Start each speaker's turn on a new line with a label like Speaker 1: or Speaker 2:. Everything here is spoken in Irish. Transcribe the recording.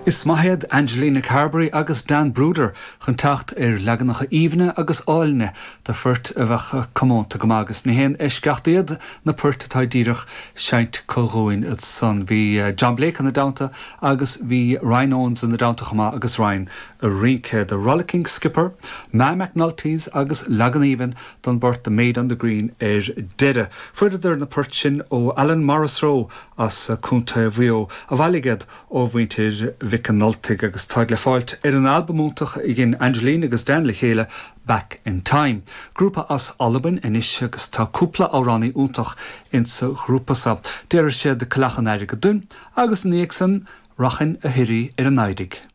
Speaker 1: Is maith iad Angelina Carberry agus Dan Brouder chun teacht ar leaganacha aoibhne agus áilne de phoirt a bheadh comónta go maith agus ní haon eisceacht iad na poirt atá díreach seinnte acu dhúinn ansan. Bhí John Blake ina dteannta agus bhí Ryan Owens ina dteannta chomh maith agus Ryan ag rince. The Rollicking Skipper, Ma McNulty's agus leagan aoibhinn don bport The Maid on the Green ar deireadh. Fuaireadar na poirt sin ó Alan Morrisroe as Contae Mhaigh Eo a bhailigh iad ó mhuintir Mhic an Ultaigh agus táid le fáilt ar an albam iontach a dhein Angelina agus Dan le chéile, Back in Time. Grúpa as Albain anois agus tá cúpla amhránaí iontach insa ghrúpa so. Déarfaidh siad Coileach an Airgid dúinn agus ina dhiaidh san, Rachainn a shuirí ar an Laghaidigh.